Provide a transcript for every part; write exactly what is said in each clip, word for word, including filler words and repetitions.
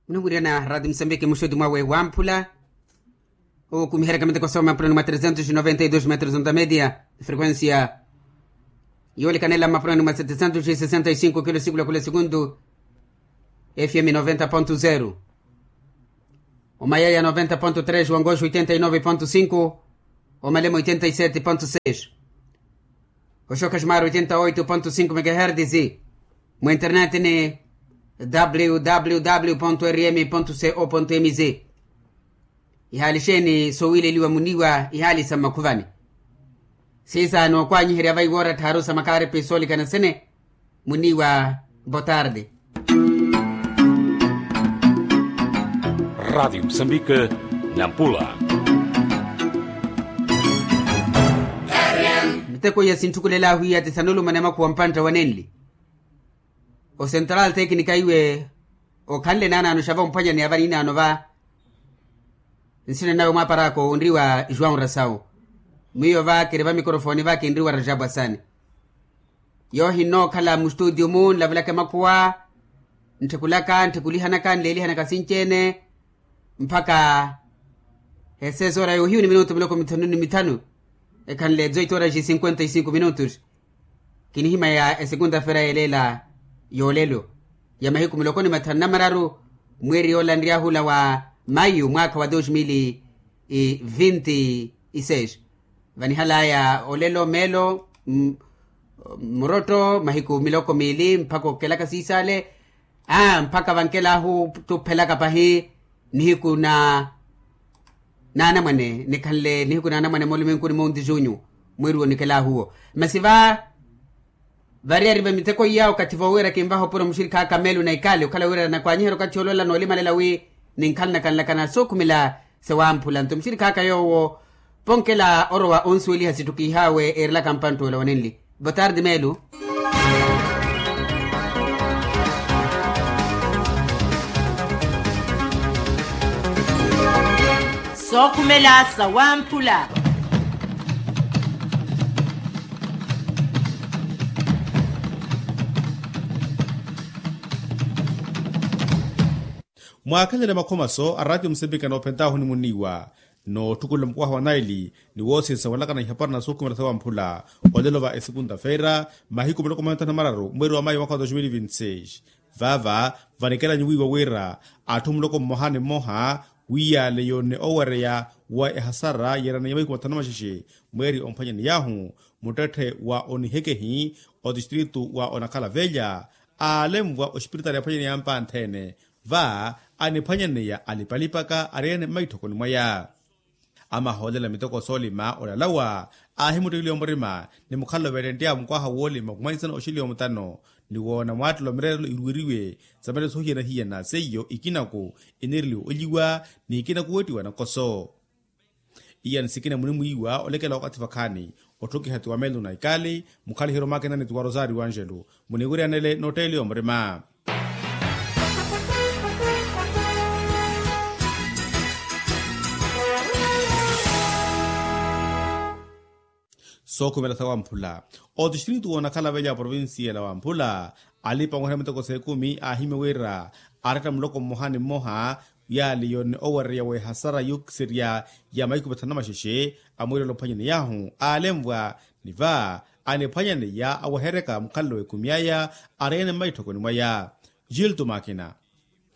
Munamwirana rati musambiki muxuti mwawe wamphula. Okumiherya kamiteko soma mapurani mwa trezentos noventa e dos metros onta media, frequencia yoolikanela mapurani mwa setecentos e sesenta e cinco kilo sikula kula segundu. Fm noventa ponto zero, omayaya noventa ponto tres, wangoxo oitenta e nove ponto cinco, omalema oitenta e sete ponto seis, oxoka ximari oitenta oito ponto cinco megahertis. Mu internet ni www rm co mz. Ihaali xeeni sowiileliwa muniiwa ihaali sa mmakhuvani. Siisa nookwaanyiherya vaiwoora tthaaru sa makaaripi soolikana sene. Muniiwa botarde. Rati musambike, nampula. Miteko iya sinthukulela ahu iya ti sanulumana makhuwa mpantta wa nenli. Osentral teknika iwe okhanle naanaano xava omphwanyaneya va niinaano va. Nsina nawe mwaparaka onriwa joão rasau. Mwiyo va kiri va mikorofoni va kinriwa rajabu asani. Yoohi nnookhala mustutio mu nlavelaka emakhuwa. Ntthikulaka nttikulihanaka nleelihanaka sinci-ene. Mpakha eseesa ora yoohiyu ni minutu miloko mithanu ni mithanu. Ekhanle dezoito horas e cinquenta e cinco minutos. Kinihimaya esekunda-fera yeleela yoolelo ya mahiku miloko ni mathanu na mararu, mweeri yoola nryahu ola wa mayu mwaakha wa dos mil e vinte e seis. Vanihalaya olelo meelo, murotto mahiku miloko miili mpakha okelaka siisale. Aa mpakha vankelahu tuphelaka pahi nihiku na naanamwane nikhanle nihiku naanamwane mooluminkuni monti junyu. Mweeri wonikelahu owo masi va variyari va miteko iya okathi voowiira kinvaha opuro muxirikha aka meelo na ikali okhala wira nakwaanyiherya okathi oloola noolimalela wi ninkhala nakanlakana sookhumela sewamphula nto muxirikha aka yoowo ponkela orowa onsuweliha sittukiihaawe eerelaka mpantt'ola wanenli. Botarde meelo. Sookhumela sawamphula. Mwaakhelele makhomaso a ratio musepika noophentaahu ni muniiwa nootthukulela mukwaha wa naili ni woosiisa walakana ihapara na sookhumela sawamphula. Olelo va esekunta-feira mahiku miloko mantano mararu mweeri wa mayu mwaka wa dos mil vinti seis. Vaava vanikelanyu wiiwa wira atthu muloko mmoha ni mmoha wiiyale yoonne owereya wa ehasara yeerana ya mahiku mathanu maxexe mweeri omphwanyaney'ahu muttetthe wa onihekehi otistritu wa onakhala velha aalemvwa ospiritaali aphwanyaneya mpantha-ene. Va aniphwanyaneya alipalipaka areene mmaitthokoni mwaya. Amahoolela miteko soolima olalawa aahimuttekeliwa murima ni mukhalelo veettenttya mukwaha woolima khumwanisana oxeliwa mutano ni woona mwaattelo mireerelo iruweriwe. Sa maleso hiyana-hiyana seiyo ikinaku ineereliwa olyiwa ni ikinaku weettiwa nakoso. Iyani sikina munimwiiwa olekela wakathi vakhaani otthukiha ti wa meelo na ikali mukhaliheryo mwakina ni ti wa rosario angelo. Muniwiryanele nootteeliwa murima. Sookhumela sawamphula otistritu woonakhala velha aprovincia la wamphula alipa onweherya miteko s'ekumi aahimya wira aretta muloko mmoha ni mmoha yaali yoonne owereya w'ehasara yuukiserya ya mahiku mathanu na maxexe amwiirela ophwanyaney'ahu aalemvwa ni va aniphwanyaneya aweheryaka mukhalelo w'ekumi aya areene mmaitthokoni mwaya. Gilto makina.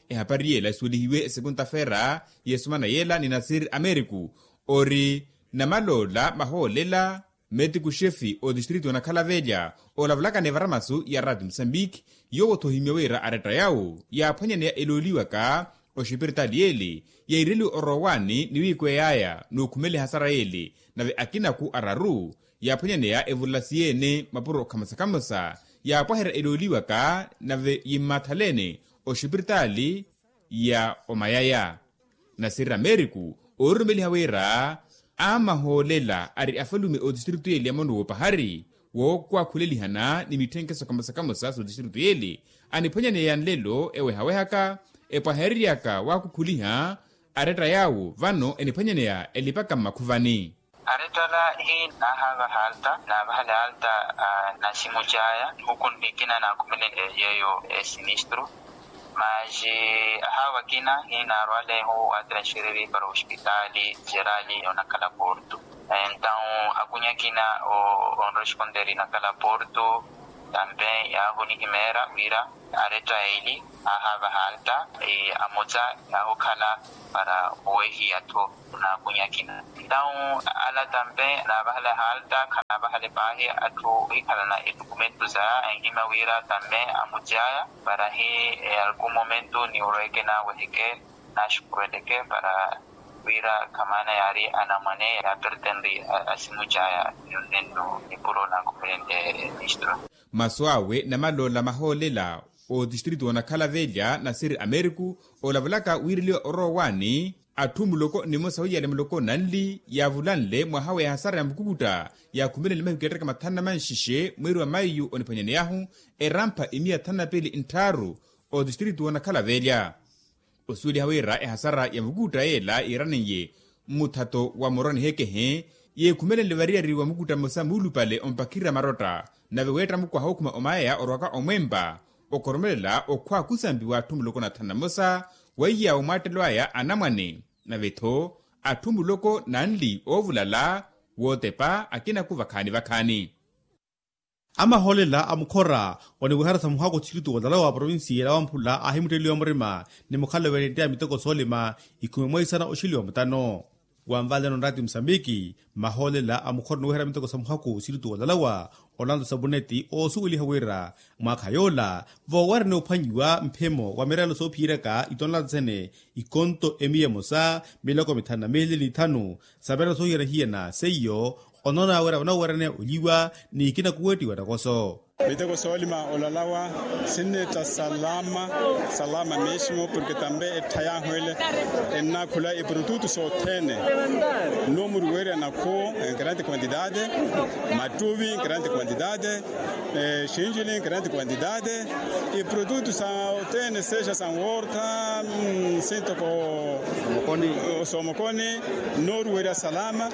Ehapari yela isuwelihiwe esekunta-feera y'esumana yela ni nasir ameriku ori namaloola mahoolela metiku xefi otistritu onakhala velha olavulaka ni varamasu ya rati musambiki. Yoowo-tho ohimya wira aretta yawo yaaphwanyaneya elooliwaka oxipiritaali yele yaireliwe orowaani ni wiikwey'aya n'ukhumela ehasara yele nave akinaku araru yaaphwanyaneya evulla siyeene mapuro khamosa-khamosa yaapwaherya elooliwaka nave yimmaathalene oxipiritaali ya omayaya. Nasirira meeriku oorurumeliha wira amahoolela ari afalume otistritu yeli ya mono w'opahari wookwakhulelihana ni mitthenkeso kamosa-kamosa s'otistritu yeli aniphwanyaneya nlelo ewehawehaka epwahereryaka waakukhuliha aretta yaawo vano eniphwanyaneya elipaka mmakhuvani. Arettala hiina naahaavaha alta naavahala alta. Naximu caya nihuku nikina naakhumele yeeyo esinistru. Maji ahawa akina hinaarwalehu watransfereri para ospitali jerali onakhala porto. Entaw akunya akina onresponderi nakhala porto tambe yahunihimeera wira aretta eli ahava halta amuca yahukhala para owehiya tho. Naakunya akina entaw ala tambe naavahala halta khanaavahala epaahi atthu ohikhalana etukumentu saya enhima wira tambe amucaya para hi alku momento niwurweke naaweheke naxukuweleke para wira khamaana yaari anamwane yaapertenri asimucaya. Nonnennu nipuro naakhumelente ministro. Masu awe namaloola mahoolela otistritu onakhala velya nasiri ameriku olavulaka wiireliwa orowa waani atthu muloko nimosa wiyale muloko nanli yaavulanle mwaha wa ehasara ya mukukutta yaakhumelenle mahiku yaattarika mathanu na manxixe mweeri wa maiyu oniphwanyaneyahu erampha imiya thanu na piili ntthaaru otistritu onakhala velya. Osuweliha wira ehasara ya mukutta yeela yiiraniye mmuthato wa muroni hekehe yeekhumelenle variyari wa mukutta mmosa muulupale ompakirira marotta nave weetta mukwaha okhuma omayaya orwaka omwempa okhoromelela okhwa khusampiwa atthu muloko na thanu na mmosa weiya omwaattelo aya anamwane nave-tho atthu muloko nanli oovulala wootepa akina-ku vakhaani-vakhaani. Amahoolela a mukhora oniwihara sa muhako tistiritu olalawa provinsiya ela wamphula aahimutteleliwa murima ni mukhalelo venettya miteko soolima ikhume mwaisana oxiliwa mutano. Wanvaleno nraati musambiki mahoolela a mukhora oniwihara miteko sa muhako tistiritu olalawa olanto sabuneti oosuweliha wira mwaakha yoola voowerene ophwanyiwa mphemo wa mirelo soophiyeryaka itonlata sene ikonto emiya emosa miloko mithanu na miili ni ithanu sa mirelo soohiyana-hiyana seiyo onoona wira vanoowerene olyiwa ni ikina kuwettiwa nakoso. Miteko soolima olalawa sinneetta salama salama mesmo porke tambe etthay'ahu ele ennaakhula eprotutu sothene. Nno muri weerya nakhuwo en grande quantidade mattuvi en grande quantidade. Xinjili en grande quantidade eprotutu sothene sexa sanwortha sintoko soomokoni nnoruwerya salama.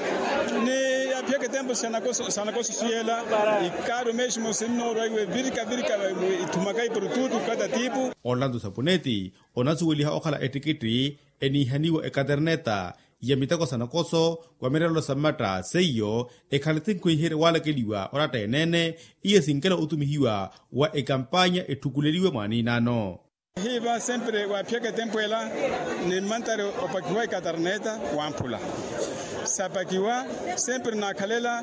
Ni yaaphiyaka etempo sanakoso siyela ikaaru mesmo sinnoorwa iwe virika virika ithumaka eprotutu kada tipo. Orlando sapuneti onasuweliha okhala ettikitti eniihaniwa ekaterneta ya miteko sa nakoso wa mirelelo sa mmatta seiyo ekhale tinkhu ihiherye waalakeliwa oratta eneene. Iye sinkela otumihiwa wa ekampanya etthukuleliwe mwaaniinaano. Hiiva sempre waaphiyaka etempo ela ni mmantari opakiwa ekatarneta wamphula sapakiwa sempre naakhalela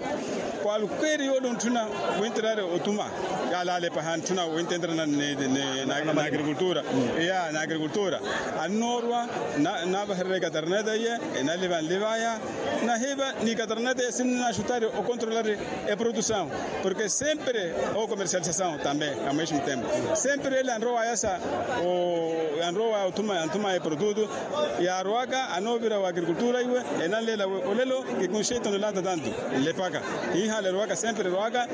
kwalkweri yoole ontthuna winterari otuma yaalalepaha ntthuna wintenterana ni agrikultura. Ya na agrikultura annoorwa navahererya ekatarneta iye enaliva nlivaya. Nahiiva ni ekatarneta iye sinnaaxutari okontrolari eprodusaw porke sempre okomersialisasaw tambe amwexi mutempo sempre ele anrowaya sa anrowaya othuma anthumaya eprodutu yaarowaka anoovira wa agrikultura iwe enanleela olelo kikunxeita onolata tantu nlepaka hiihaala erowaka sempre erowaka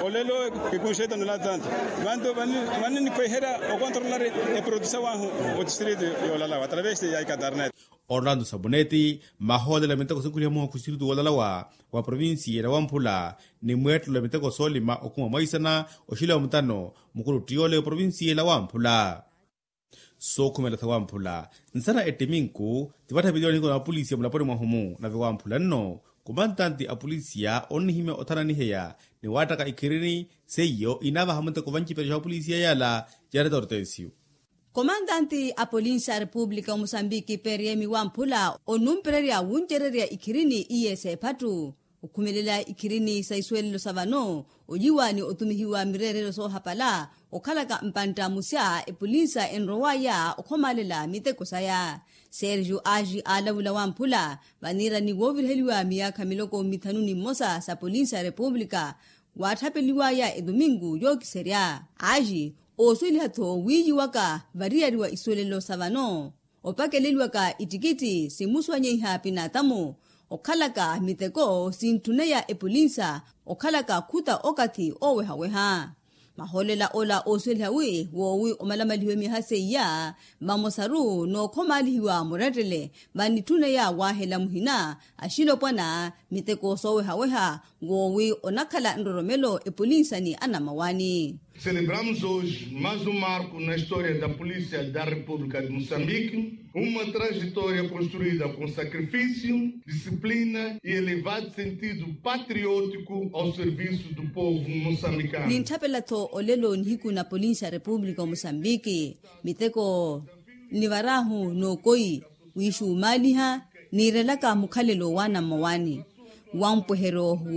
olelo kikunxeita onolata tantu vantu vaninikhweherya okontrolari eprodusaw ahu otistritu yoolalawa atravesi ya ikatarnet. Orlando sabuneti mahoolela miteko sinkhuliha muhakhu siritu woolalawa wa provinsiya ela wamphula ni mweettelo ya miteko soolima okhuma mwaisana oxila wa mutano mukulu ottiyole oprovinsiya ela wamphula. Sookhumela sa wamphula nsana ettiminku tivattha viliwa nihiku na apolisiya mulaponi mwahu-mu nave wamphula nno kumantanti apolisiya onnihimya othananiheya ni waattaka ikhirini seiyo inaavaha muteko vanciperyo xa apolisiya yaala. Jareta ortensiyo. Komantanti a polinsi a repupulika omusambiki periemi wamphula onumpererya wuncererya ikhirini iye seephattu okhumelela ikhirini sa isuwelelo sa vano olyiwa ni otumihiwa mireerelo soohapala okhalaka mpantta musya epolinsa enrowaya okhomaalela miteko saya. Sergio agi aalavula wamphula vaniirani wooviriheliwa miyaakha miloko mithanu ni mmosa sa polinsi a repupulika waatthapeliwaya etumingu yookiserya agi oosuweliha-tho wiiyiwaka variyari wa isuwelelo sa vano opakeleliwaka ittikitthi simusuwanyeiha pinatamu okhalaka miteko sintthuneya epolinsa okhalaka khuta okathi oowehaweha. Mahoolela ola oosuweliha wi woowi omalamalihiwe myaha seiya vamosaru nookhomaalihiwa murettele vannitthuneya waahela muhina axilopwana miteko soowehaweha woowi onakhala nroromelo epolinsa ni anamawani. Celebramos hoje mais um marco na história da polícia da república de moçambique, uma trajetória construída com sacrifício, disciplina e elevado sentido patriótico ao serviço do povo moçambicano. Nintthapela-tho olelo nihiku na polinsa ya república o moçambique miteko nivarahu n'okoyi wiixumaaliha niirelaka mukhalelo wa anammawani wa mpweheryo wo.